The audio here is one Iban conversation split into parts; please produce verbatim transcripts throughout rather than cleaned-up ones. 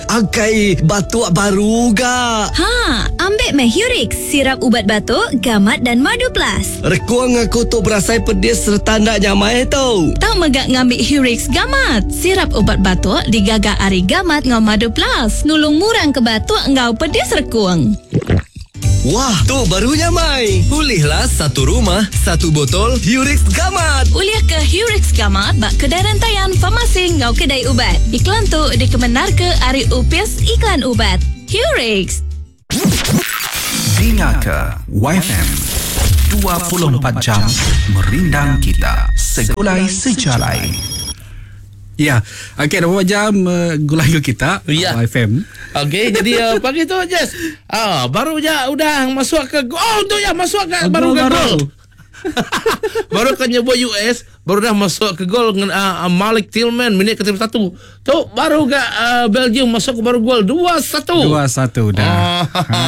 Akai batuk baru ga. Ha, ambil meh Hurix, sirap ubat batuk, gamat dan madu plus. Rekuang aku tu berasai pedis serta ndak nyamai tu. Tau megak ngambil Hurix gamat. Sirap ubat batuk digaga ari gamat ngau madu plus. Nulung murang ke batuk ngau pedis rekuang. Wah, tu baru nyamai. Pulihlah satu rumah, satu botol Hurix Gamat. Ulih ke Hurix Gamat bak kedai rantaian farmasi ngau kedai ubat. Iklan tu dikemenar ke ari Upis Iklan Ubat. Hurix. Dinga ke Y F M dua puluh empat jam merindang kita segulai sejalai. Ya, okey, dua jam uh, gulai kita ya. Y F M. Okey, jadi uh, pagi tu Jess. Ah, baru je udah masuk ke oh tu ya masuk ke oh, baru ke gol. Baru kan nyebut U S, baru dah masuk ke gol dengan uh, Malik Tillman minit ke tiga puluh satu. Tu baru ke uh, Belgium masuk ke baru gol dua satu. dua satu dah. Oh, ha.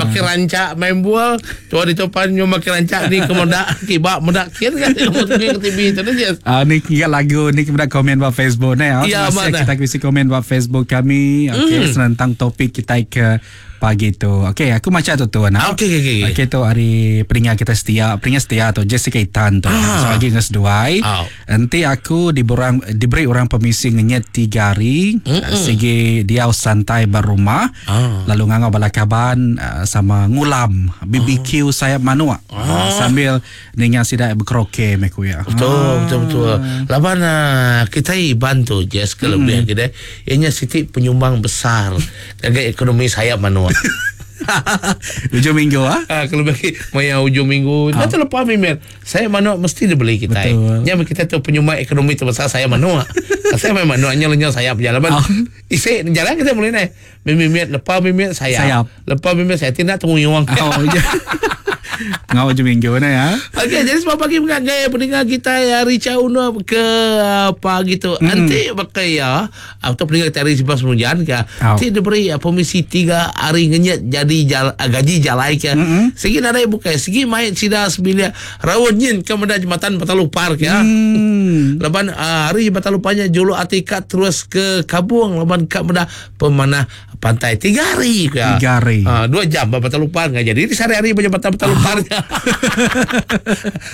Pakai rancak main bola, tu di topan nyo makin rancak ni ke modak kibak modak kir kan ke T V tu dah. Ah, ni ingat lagu ni kepada komen ba Facebook ni. Ya, kita kisi komen ba Facebook kami. Okey, mm. tentang topik kita ke pagi tu. Okey, aku macam tu tu nah. Okey okey okey. Okey tu hari peringat kita setia, peringat setia tu Jessica Itan tu. Ah. Pagi dengan seduai. Oh. Nanti aku diberang, diberi orang permisi ngenyet tiga hari. Mm-mm. Segi dia santai berumah. Ah. Lalu ngangau bala kaban sama ngulam B B Q oh. sayap manuk. Ah. Sambil ninga sidak berkroke meku ya. Betul ah. betul betul. Laban kita bantu Jess kelebihan mm. kita. Ianya siti penyumbang besar bagi ekonomi sayap manuk. Hujung minggu ah. Ha, kalau bagi maya hujung minggu, ah. Dah terlepas memang. Saya manuk mesti dia beli kita. Nya kita tu penyumbang ekonomi terbesar saya manuk. Saya memang manuknya lenyap sayap jalan. Oh. Isi jalan kita boleh naik. Mimit lepas mimit sayap. Sayap. Lepas mimit saya tidak tunggu uang. Oh, ya. Ngau hujung minggu ni ya. Okey, jadi sebab pagi mengagai pendengar kita ya Richa Uno ke pagi tu. Mm. Nanti pakai ya atau pendengar kita hari Sibas Munjan ke. Nanti diberi permisi tiga hari ngenyet jadi jal, gaji jalai ke. Mm-hmm. Segi nadai bukai, segi main sida sebilia rawon nyin ke menda jembatan Batalupar ke. Mm. Leban uh, hari Batalupanya julu atikat terus ke Kabung leban kat menda pemanah pantai tiga hari ke. Tiga hari. Uh, dua jam Batalupar enggak jadi. Ini sehari-hari jembatan Batalupar.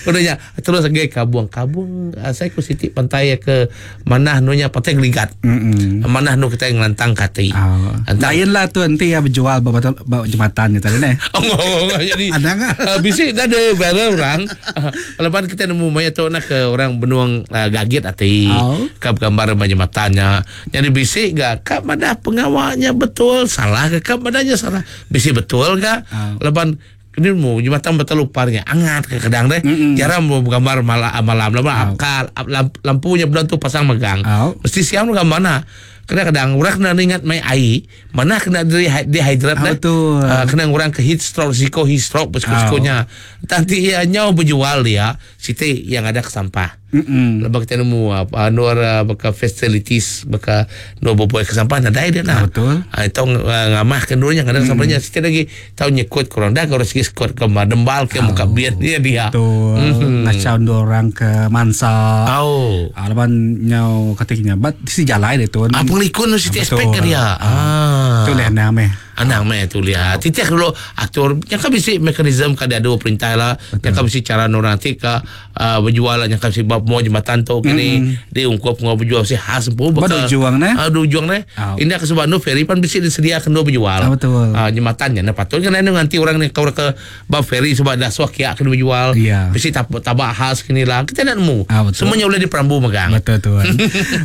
Udahnya terus lagi Kabung. Kabung saya ke siti pantai ke mana nunya pantai Geligat. Mm-mm. Mana nu kita ngelantang kati. Oh. Lain lah tu nanti ya berjual bawa bawa jembatan gitu ni. Oh, oh, oh, jadi ada enggak? Uh, bisik dah ada viral orang. Uh, lepas kita nemu maya tu nak ke orang benuang uh, gagit ati. Oh. Kap gambar jembatannya. Jadi bisik gak kap mana pengawalnya betul salah ke kap mananya salah. Bisik betul gak? Oh. Lepas ini mau jembatan Bataluparnya angat ke kadang deh. Mm-mm. Jarang mau gambar malam malam lama Oh. akal lamp, lampunya belum tu pasang megang. Oh. Mesti siang lu gambar mana? Kadang-kadang orang kena ingat mai air, mana kena dehidrat Ah, dah. betul. Uh, kena orang ke heat stroke, risiko heat stroke risikonya. Nanti ya nyau berjual dia, siti yang ada ke sampah. Mm-mm. Lepas kita nemu apa nu ada baka facilities baka nu berbuat ke sampah nadai dia nah. Ah, betul. Ah itu ngamah ke nunya kadang mm. sampahnya siti lagi tahu nyekut kurang dah kalau sikit skot ke dembal ke muka biar dia dia. Betul. Mhm. Ngacau orang ke mansa. Oh. Ah, lepas nyau katanya, bat si jalai dia tu. Ah pengelikun Ah, siti betul. aspek ke dia. Ah. Tu lah nama. Anang meh tu lihat. Titik dulu atur yang kan bisi mekanisme kada ada perintah lah. Yang kan bisi cara orang nanti ke uh, berjual lah yang kan bisi bab mau jembatan tu kini mm. dia ungkup ngau berjual si khas pun Baru juang ne. Aduh juang ne. Ah. Ini ke sebab nu ferry pan bisi disediakan dua berjual. Ah, betul. Ah, jembatannya nah patut kan nanti orang ni kau ke bab ferry sebab dah suah kiak kena berjual. Ya. Bisi tab tabak khas kini lah. Kita nak nemu. Ah, betul. Semuanya boleh diperambu megang. Betul tuan.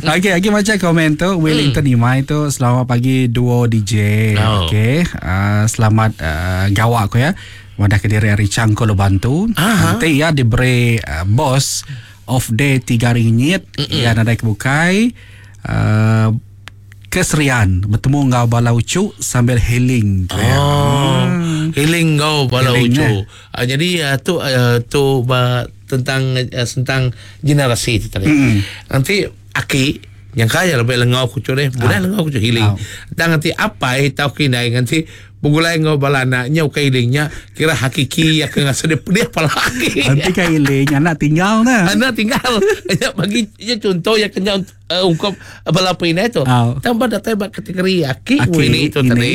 Okey, okey macam komen tu Wellington Imai tu selamat pagi duo D J. Oh. Okey, uh, selamat uh, gawak aku ya. Wadah ke diri hari cangkul bantu. Aha. Nanti ya diberi uh, bos off day tiga ringgit ya nadai kebukai uh, keserian bertemu ngau bala ucu sambil healing. Oh, healing kau bala Healing, ucu. eh. Uh, jadi uh, tu uh, tu uh, tentang uh, tentang generasi itu tadi. Mm. Nanti aki Yang kaya lebih lengau ku cure, boleh lengau ku healing. Dan nanti apa tau kinai nanti begulai ngau bala anaknya ukai healingnya kira hakiki ya ke ngasa dia pedih apalagi. Nanti ka healing anak tinggal nah. Anak tinggal. Ya bagi ya contoh ya kena uh, ungkap bala pinai tu. Oh. Tambah datang bak kategori aki, Aki, ini itu ini. tadi.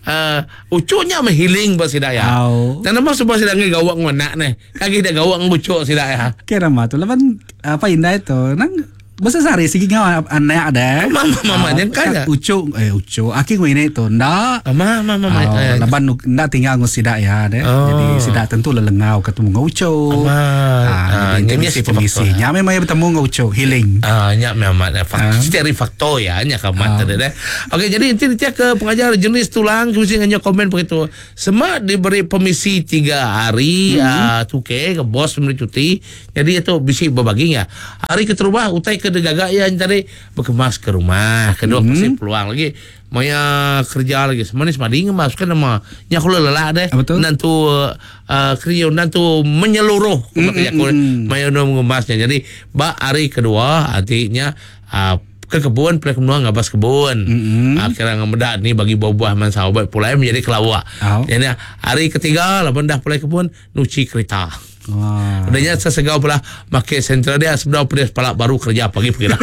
Uh, ucunya mah healing ba sida ya. Oh. Dan nama sebab sida ngi gawak ngonak neh. Kaki dah gawak ngucuk sida ya. Kira mah tu laban apa indah itu nang Masa sehari sigi ngau anak ada. Mama mama yang kaya. Ucuk eh ucuk aki ngene tu ndak. Mama mama Oh, mama. laban ndak tinggal ngu sidak ya deh. Oh. Jadi sidak tentu lelengau ketemu ngau ucuk. Ama. Ah, Ah, jadi nya misi mesti pemisi. faktor. Nya memang ya bertemu ngau ucuk healing. Ah, nyak memang eh, fak, Ah. dari faktor ya, nyak kamat Ah. tadi deh. Okey, jadi inti dia ke pengajar jenis tulang mesti nganya komen begitu. Semak diberi permisi tiga hari, mm-hmm. uh, tuke ke bos memberi cuti. Jadi itu bisi berbaginya. Hari keterubah utai ke degagak ya tadi berkemas ke rumah. Kedua mm-hmm. pasti peluang lagi. Maya kerja lagi. Semanis madi ngemas kan nama. Nyak kula lelak deh. Ah, betul. Nantu uh, kerja nantu menyeluruh. Mm-hmm. Aku maya nu mengemasnya. Jadi bak hari kedua artinya uh, ke kebun pelai menua ngabas kebun. Mm-hmm. Akhirnya ngemedak ni bagi buah-buah man sahabat pulai menjadi kelawak. Oh. Jadi hari ketiga laban dah pulai kebun nuci kereta. Wah. Udahnya sesegau pula make sentral dia sebelah pedes palak baru kerja pagi pergi lah.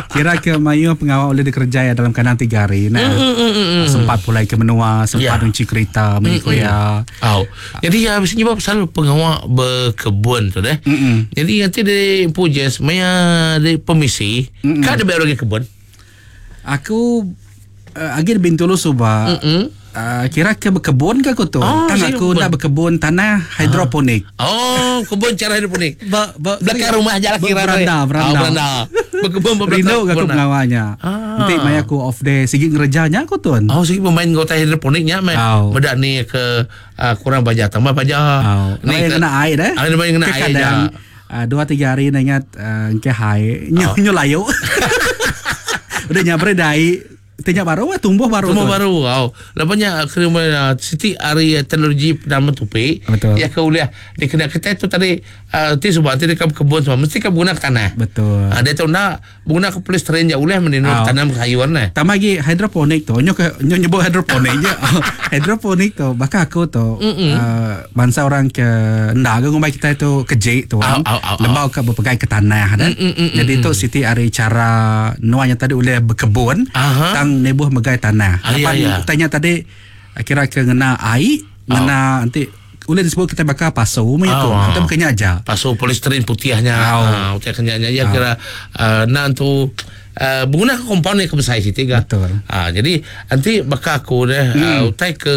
Kira ke mayu pengawal oleh dikerja ya dalam kandang tiga hari. Nah, mm, sempat pulai ke menua, sempat Ya. nyuci kereta, mengikut ya. Oh. Jadi ya biasanya sebab selalu pengawal berkebun tu deh. Mm-mm. Jadi nanti di Pujas maya di permisi, kan ada bayar lagi kebun. Aku uh, agi di Bintulu suba. Mm-mm. Uh, kira ke berkebun ke aku tu? Oh, Kan saya aku berkebun. nak berkebun tanah hidroponik. Oh, kebun cara hidroponik. Ba, ba, Belakang rumah je lah kira. Beranda, beranda. Oh, beranda. Berkebun belakang. Rindu ke aku beranda. pengawalnya. Ah. Nanti maya aku off day sigi ngerjanya aku tuan. Oh, sigi pemain gota hidroponiknya meh. Oh. Medak ni ke uh, kurang baja tambah baja. Oh. Ni ke- kena air eh. Ah, ni kena air. Kadang je. uh, dua tiga hari nak ingat uh, ke hai nyu Oh. nyu layu. Udah nyabre dai tanya baru wah tumbuh baru. Semua tu. baru kau. Lepasnya kena uh, siti hari uh, teknologi dalam tupi. Betul. Ya ke uliah dia kena kita tu tadi uh, ti sebab ti dekat kebun semua mesti kan guna tanah. Betul. Ah, dia tu nak guna ke polystyrene je uliah meninu Oh. tanam sayuran nah. Tambah lagi hidroponik tu. Nyo ke nyo nyebut hidroponik je. Hidroponik tu bahkan aku tu uh, bangsa orang ke ndak ke ngumbai kita itu kejik tu. Au, au, au, au. Lembau ke berpegai ke tanah dah. Jadi tu siti hari cara nuanya tadi oleh berkebun Aha. tang nebuh megai tanah. Ah, ya, Lepas ya. tanya tadi kira ke ngena air, ngena nanti boleh disebut kita bakal pasu punya tu. Oh. Atau bukannya aja. Pasu polystyrene putihnya. Oh. Ah, putih kenyanya ya kira uh, nak tu uh, guna kompaun yang kebesar situ ga. Betul. Ah, jadi nanti bakal aku deh hmm. uh, utai ke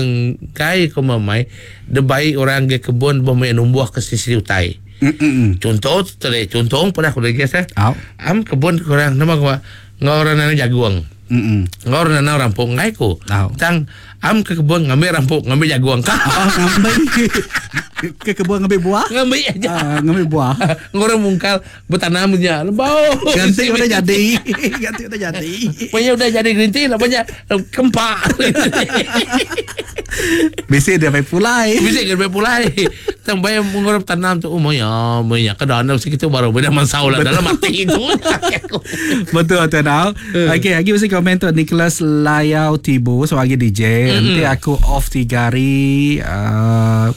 kai ke mamai de baik orang ke kebun bom yang numbuh ke sisi utai. Mm-mm. Contoh tadi contoh pernah aku lagi eh. Au. Am kebun kurang nama gua ngorang nana jagung. Mm-mm. Ngorang nana rampung ngai ku. Au. Tang am ke kebun ngambil rampung ngambil jagung kah. Oh, ngambil ke kebun ngambil buah. Ngambil aja. Ah, ngambil buah. Ngorang mungkal bertanamnya. Lebau. Ganti udah jadi. Ganti udah jadi. Pokoknya udah jadi green tea namanya kempak. Bisa dia sampai pulai. Bisa ke pulai. Tambah yang mengurap tanam tu oh ya, maya kedan segitu baru beda mansau lah dalam mati itu. Betul betul tau. Okey, lagi mesti komen tu Nicholas Layau Tibu sebagai D J. Nanti aku off tiga hari uh,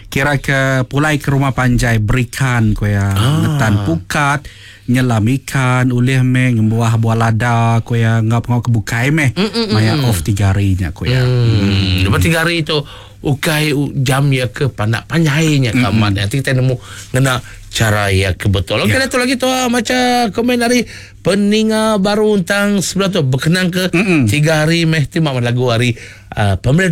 kira ke pulai ke rumah panjai berikan ko ya. Ah. Ngetan pukat, nyelam ikan, ulih me ngembuah buah lada ko ya ngap ngap kebukai me. Maya off tiga hari nya ko ya. Hmm, lepas tiga hari itu ukai u- jam ya ke pandak panjainya kamat. Nanti kita nemu ngena cara ya ke betul. Okey, Ya. yeah. lagi tu ah, macam komen dari peninga baru tentang sebelah tu berkenang ke Mm-mm. tiga hari meh ti mak lagu hari uh, pemerintah